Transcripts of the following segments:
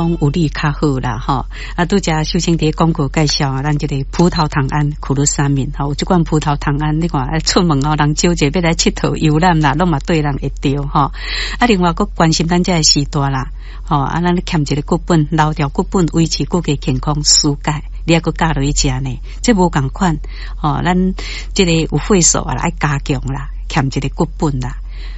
講有你較好啦，吼。啊，拄才秀清佇廣告介紹啊，咱這个葡萄糖胺苦魯三敏，吼，有這款葡萄糖胺，你看啊，出門哦，人少者欲來𨑨迌遊覽啦，攏嘛綴人會著吼。啊，另外閣關心咱這个時代啦，吼，啊，咱欠一个骨本，留著骨本，維持骨骼健康，舒解。你猶閣加落去食呢？這無仝款，吼，咱這个有會所啊，愛加強啦，欠一个骨本啦。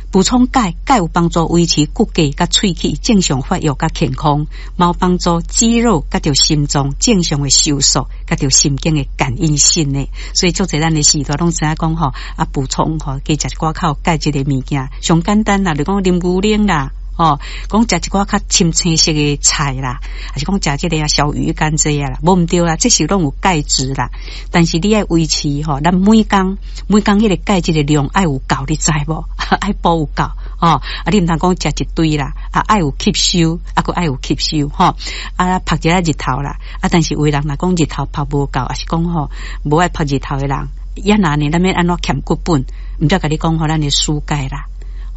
補充鈣，鈣有幫助維持骨骼佮喙齒正常發育佮健康，嘛有幫助肌肉佮著心臟正常的收縮，佮著神經的感應性的。所以足濟咱的時代攏知影講吼，啊補充吼，加食一寡較有鈣質的物件，上簡單啦，就講啉牛奶啦。吼，講食一寡較深青色的菜啦，還是講食這个啊小魚乾這啊啦，無毋對啦，這是攏有鈣質啦。但是你愛維持吼，咱每工每工彼个鈣質的量愛有夠，你知無？愛補有夠吼，啊，你毋通講食一堆啦，啊，愛有吸收，啊，閣愛有吸收吼，啊，曝一下日頭啦，啊，但是有的人若講日頭曝無夠，抑是講吼無愛曝日頭的人，抑若呢，咱欲按怎欠骨本？毋才共你講吼，咱的舒鈣啦。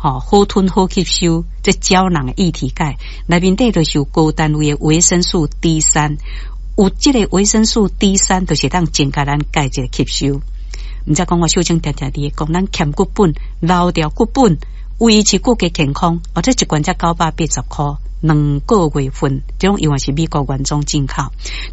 吼，好吞好吸收，這膠囊的液體鈣內面底就是有高單位的維生素 D 三，有這個維生素 D 三，就是當增加咱鈣質吸收。毋才講我秀清定定佇講，咱欠骨本，留著骨本，維持骨骼健康。哦，這一罐才980箍，兩個月份，這種永遠是美國原裝進口。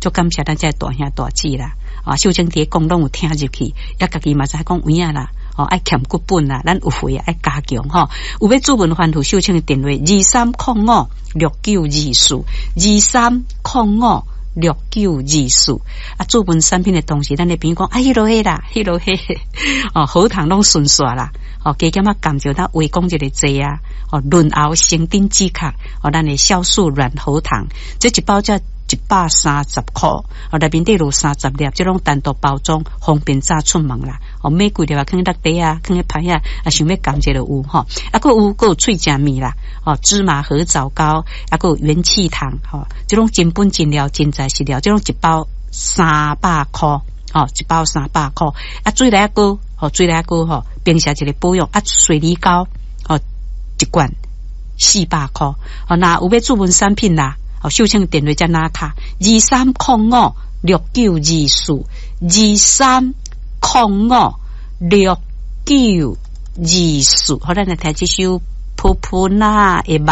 就感謝咱這大兄大姊啦，啊，秀清佇講攏有聽入去，也家己嘛知講有影啦。哦，愛欠骨本啦，咱有會愛加強吼。有欲諮詢番號秀清的電話：23056924，23056924。啊，諮詢產品的同時，咱的朋友講，啊，彼落彼啦，彼落彼，哦，喉糖攏順煞啦。哦，加減仔含著咱話講一个濟啊，哦，潤喉生長止咳，哦，咱的酵素軟喉糖，這一包才130箍，哦，內面底有30粒，這攏單獨包裝，方便早出門啦。哦，買幾粒啊，囥佇袋仔啊，囥佇旁仔啊，想欲含一个有吼。啊，閣有閣有喙食物啦，哦，芝麻褐藻膏，啊，閣有元氣糖，吼，這攏真本真料，真材實料，這攏一包300箍，吼，一包三百箍。啊，水來膏，吼，水來膏吼，平時一个保養，啊，水梨膏，吼，一罐400箍。哦，若有欲諮詢產品啦。哦，秀清電話才拿卡，23056924，23056924。好，咱來聽這首《噗噗那的夢》。